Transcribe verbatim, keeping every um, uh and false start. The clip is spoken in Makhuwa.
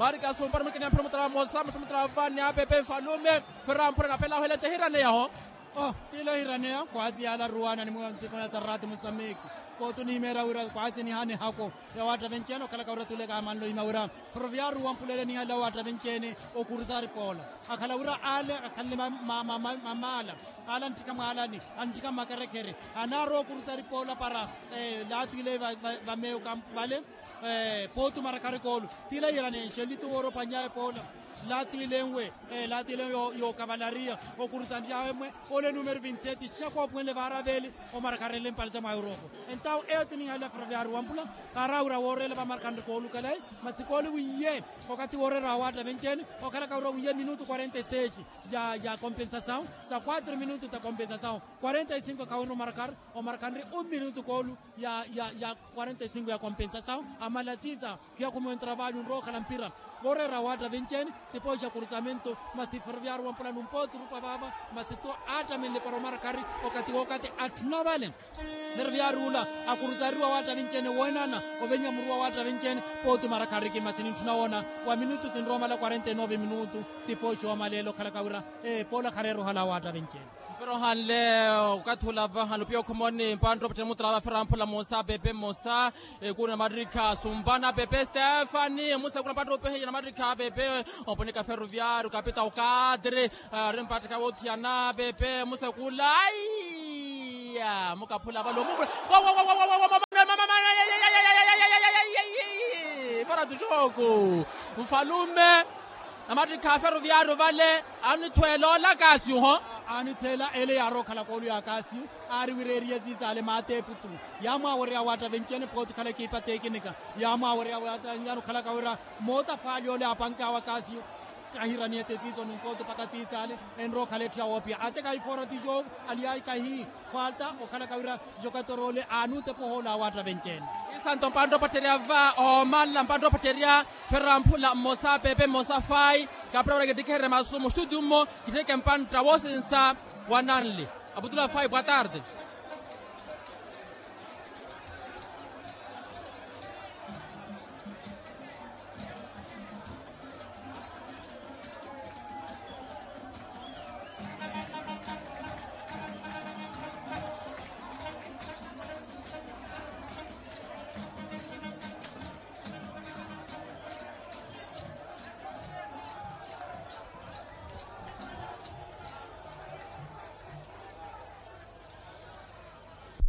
Marika sumpa numikini ya mphira mutra mosa musa mutra vani ya pepe mfalume. Fera mphura na pela hwele tehiraneya ho. Oh, tila hiraneya kwati yala ruwana ni mwa ntiko ya tsarati musameki. Kotu ni mera wira kwati ni hane hako ya wata venceno kala ka wira tuleka manlo ima wira. Ferroviario wampulele ni hala wata vencene. Okurusari pola akhala wira ale akhalile mamala. Ala ntika mwalani antika makarekere. Anaro okurusari pola para. Latwile vameyo kampu vale. Potu marakari kolu tila yirane nxelitu woro panyaye pola. Latwilenwe latwilenwe yokavalariya. Okurusanryawe mwe ole numero vinti seti xakoopuwenle varaveli. Omarakarenle mpali sa mwa europa. Entawu eyo tinihalila ferroviario wampula. Karawira worela vamarakanri kolu kalai masi kolu wiye. Okati worera wawatta venceni okhalaka wira wiye minutu quarenta e seti. Ya compensasawu sa quatro minutu ta compensasawu. Quarenta e cinco khawinre omarakari. Omarakari un minutu kolu ya quarenta e cinco ya compensasawu. Amala sisa khiya khumentra vali unrokhala mpira. Vorera watta venceni. Tipoxa kurusamento masi ferroviario wampula numpoti rupa vava. Masi to attamenle para omarakari okati wokati atthuna vale. Ferroviario ula akurusariwa watta venceni wenana. Ovenya muruwa watta venceni. Poti omarakari kimasi nintthuna wona wa minutu tinromala quarenta e nove minutu. Tipoxa wamaleela okhalaka wira epola khareera ohala watta venceni. Mpira ohanle okathi olava hanupiya okhomoni mpantta opattheni mutrava fera mphula mmosa pepe mmosa. Ekuru na marikha sumpana pepe stefani musekula mpatthi opeheya na marikha pepe. Omponika ferroviario kapita okadre ari mpatthika wothiyana pepe musekula aiya mukaphula vale omukula. Fora tuxoku. Mfalume na mattikha a ferroviario vale anithwela ola kasiuho. Anithela ele yaari okhala koolu ya kasiu. Aari wira eriye zizaale maata eputu. Yaamwaawereya watta vencene pooti okhala ekipa tekinika. Yaamwaawereya watta vencene okhalaka wira moota faali ole apankawa kasiu. Kahiraniye te siisoni nkooto mpaka siisaale. Enrookhala etthu ya woopiya ate kahi fora tijoku. Aliyayi kahi falta okhalaka wira tijoku atoorole aanuutepa ohoola awatta venceene. Isanto mpantta opatterya va oomalla mpantta opatterya. Ferra mphula mmosa pepe mmosa fayi. Kapira wira kittikherye masu mustuti mmo kittheke mpantta woosinsa. Wananli aputula fayi boa tarde.